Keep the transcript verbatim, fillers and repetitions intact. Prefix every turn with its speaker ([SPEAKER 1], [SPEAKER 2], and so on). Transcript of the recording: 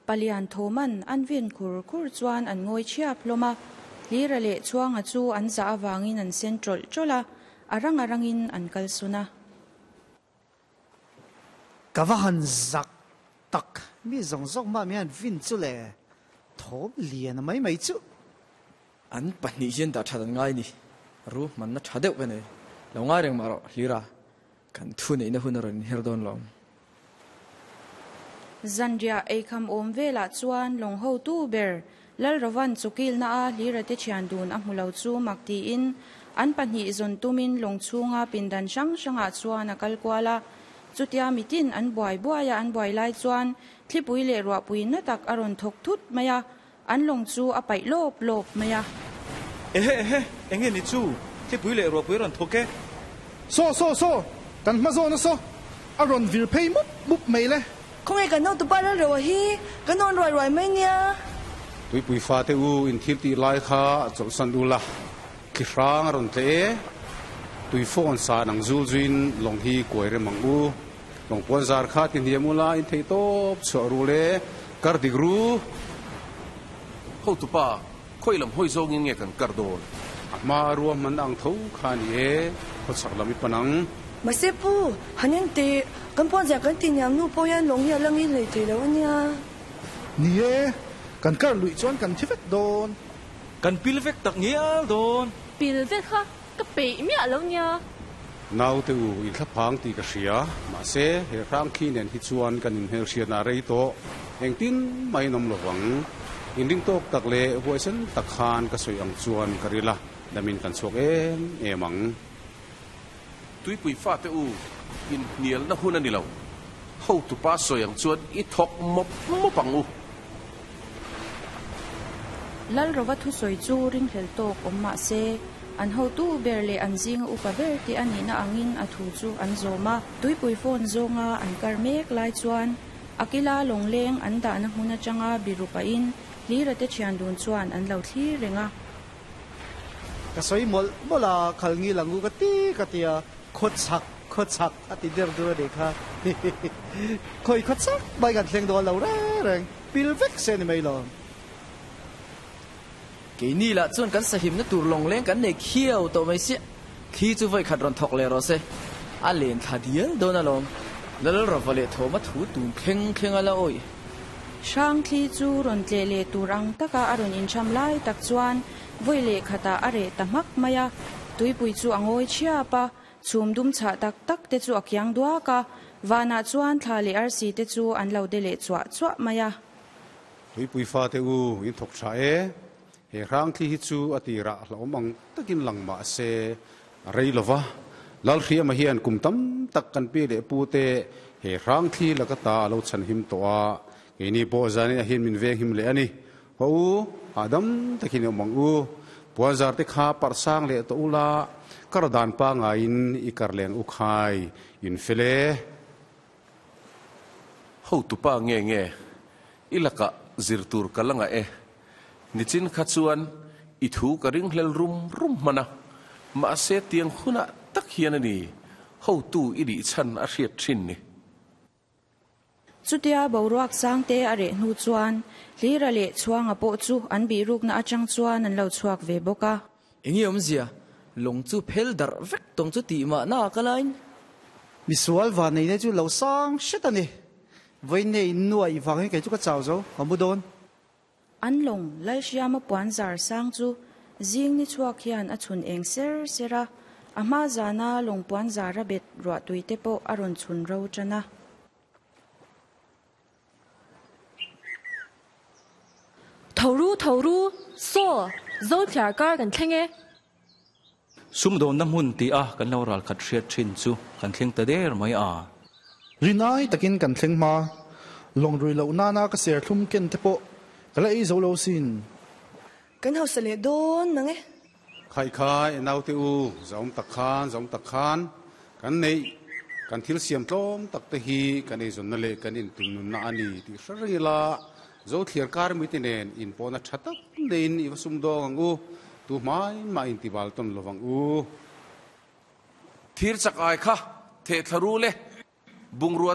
[SPEAKER 1] Palian Thoman an vin khur khur chuan an ngawi ṭhiap hlawm a. Hlira leh Chhuanga chu an zah avangin an sen ṭawlh ṭawlh a, a rang a rangin an kal sun a.
[SPEAKER 2] Ka va han zak tak, mi zawng zawng mah mi han vin chu le, thawm lian mai mai chu.
[SPEAKER 3] An pahnih hian dah ṭhat an ngai ni, ru hmanna ṭha deuh ka nei. Lo ngai reng mah rawh, Hlira, kan thu neihna hun a rawn inher dawn lo.
[SPEAKER 1] Zanriah eikham awm velah chuan lawng hotu ber Lalrovan chukilna a Hlira te thian dun a hmu lo chu mak tiin an pahnih zawn tumin lawng chhunga pindan hrang hrangah chuan a kal kual a. Chutia mitin an buai buai a an buai lai chuan thlipui leh ruahpui na tak a rawn thawk thut mai a, an lawng chu a paih lawp lawp mai a.
[SPEAKER 4] Ehe ehe, enge ni chu? Thlipui leh ruahpui a rawn thawk e.
[SPEAKER 5] Saw saw saw, kan hma zawn a saw, a rawn vir phei mup mup mai le.
[SPEAKER 6] Khawnge kan hotupa Lalroa hi kan awn ruai ruai mai nia.
[SPEAKER 7] Tuipui fate u in thil tih lai kha chawlhsan u la, thli hrang a rawn tle e. Tui fawn san ang zul zuin lawng hi kuai rem ang u. Lawng puan zar kha ti hniam u la, in theih tawp chhuah ru le, kar dik ru.
[SPEAKER 8] Hotupa, khawi lam hawi zawngin nge kan kar dawn?
[SPEAKER 7] A hma a ruahman ang tho kha a ni e, khawchhak lam i pan ang.
[SPEAKER 6] Mahse pu, han en teh, kan puan zar kan ti hniam nu pawh hian lawng hi a la ngil hlei thei lo a nia.
[SPEAKER 5] Ni e, kan kar luih chuan kan thi vek dawn.
[SPEAKER 4] Kan pil vek tak ngial dawn.
[SPEAKER 9] Pil vek kha ka peih miah lo nia.
[SPEAKER 7] Naute u, in thlaphang tih ka hria. Mahse, he hrang khi nen hi chuan kan inhmelhriatna a rei tawh. Engtin mah in awm lo vang. Inring tawk tak leh huaisen tak khan ka sawi ang chuan ka ril a, damin kan chhuak em em ang.
[SPEAKER 8] Tuipui fate u, inhnialna hun a ni lo. Hotupa sawi ang chuan i thawk mawp mawp ang u.
[SPEAKER 1] Lalrova thusawi chu ringhlel tawk awm mah se, an hotu ber leh an zinga upa ber tih a nihna angin a thu chu an zawm a. Tuipui phone zawnga an kar mek lai chuan a kila lawngleng an dahna hmun atanga biru pahin Hlira te thian dun chuan an lo thlir reng a.
[SPEAKER 2] Ka sawi mawlh mawlh a, khal ngil ang u ka ti ka ti a, khaw chak, khaw chak a ti der dur a nih kha. Khawi khaw chak mai kan thleng dawn lo reng reng, pil vek se ni mai lo.
[SPEAKER 3] Keini lah chuan kan sahimna tur lawngleng kan nei khiau tawh mai sia, thli chu vawi khat rawn thawk leh rawh se, a len thla dial dawn alawm. Lalrava leh Thawma thu tun thleng thleng a la awih.
[SPEAKER 1] Hrangthli chu rawn tleh leh tur ang taka a rawn incham lai tak chuan vawi leh khatah a reh ta hmak mai a. Tuipui chu a ngawi chhiap a, chhum dum chhah tak tak te chu a kiang duak a, vanah chuan thla leh arsi te chu an lo de leh chuah chuah mai a.
[SPEAKER 7] Tuipui fate u, in thawk tha e. He hrangthli hi chu a tirah hlauhawm ang takin lang mah se a rei lo va. Lalhriama hian kum tam tak kan pi leh pu te he hrangthli laka ta a lo chhanhim tawh a, keini pawh zanin ah hian min venghim leh a ni. Haw u, hahdam takin i awm ang u. Puanzar te kha parh sang leh tawh ula, kar dan pangaiin i kar leng u khai in fel e.
[SPEAKER 8] Hotupa nge nge i lakah zir tur ka la ngah e. Nichin kha chuan i thu ka ringhlel rum rum hman a, mahse tiang hunah tak hian a ni hotu i nih chhan a hriat thin ni.
[SPEAKER 1] Chutia boruak sangte a reh hnu chuan Hlira leh Chhuanga pawh chu an bihrukna atang chuan an lo chhuak ve bawk a.
[SPEAKER 3] Enge awmzia? Lawng chu phel darh vek tawng chu tih mahna ka lain.
[SPEAKER 2] Misual vanneihna chu lo sang hret a ni. Vawiin in nuaih vangin kei chu ka chau zo, ka mu dawn.
[SPEAKER 1] An lawng Lalhriama puan zar sang chu zing ni chhuak hian a chhun eng ser ser a, a hma zana lawng puan zar a bet ruahtui te pawh a rawn chhun ro tan a.
[SPEAKER 9] Tho ru, tho ru, saw, zo thliar kar kan thleng e.
[SPEAKER 4] Sumdawnna hmun tih a kan lo ralkhat hriat thin chu kan thleng ta der mai a.
[SPEAKER 5] Rinai takin kan thleng hma. Lawng rui loh nana ka serthlum ken te pawh ka la ei zo lo sin.
[SPEAKER 6] Kan hausa leh dawn mang e.
[SPEAKER 7] Khaikhai naute u, zaum tak khan, zaum tak khan kan neih, kan thil siam tlawm tak te hi kan eizawnna leh kan intumnunna a ni tih hre reng ila, Zothliar kar mite nen inpawhna tha tak neiin i va sumdawng ang u, tu hmai mah intibal tawn lo vang u.
[SPEAKER 8] Thir chak ai kha theh thla ru le, bungrua te